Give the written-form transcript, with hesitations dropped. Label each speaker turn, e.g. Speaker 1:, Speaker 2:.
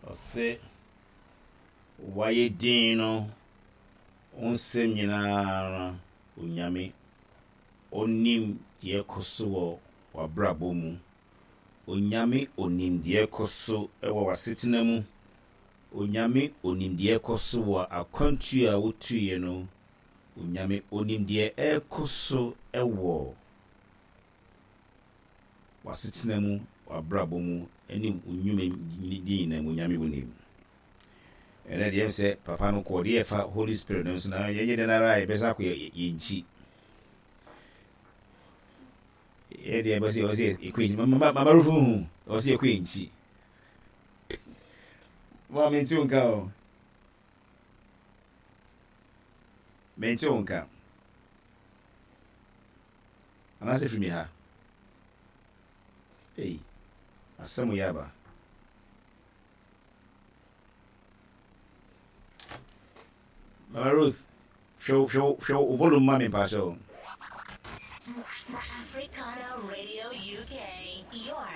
Speaker 1: Ɔse wayɛ din no wo nsɛm nyinaa no Onyame Ɔnim deɛ ɛkɔ so wɔ w'abrabɔ mu. Onyame Ɔnim deɛ ɛkɔ so wɔ w'asetena mu. Onyame Ɔnim deɛ ɛkɔ so wɔ akwantuo a wotuiɛ no. Onyame Ɔnim deɛ ɛrekɔ so wɔ w'asetena mu, w'abrabɔ mu, ne wo nnwuma nyinaa mu, Onyame Onim. Ɛnɛ deɛ ɛm sɛ papa no kɔɔ deɛ ɛfa Holy Spirit no nso na yɛnyɛ dɛn ara a yɛbɛsan akɔ yɛn nkyi. Yɛ deɛ ɛbɛsɛ yɛwɔ sɛ yɛkɔ yɛn nkyi. Mama Rufu hu ɛwɔ sɛ yɛkɔ yɛn nkyi. Mama mente wo nka o. Mente wo nka. Anaasɛ firi me ha. Ei, asɛm yɛ aba. Mama Ruth, hwɛ wo hwɛ wo hwɛ wo volume ma me mpakyɛ o.
Speaker 2: Africana Radio UK, your.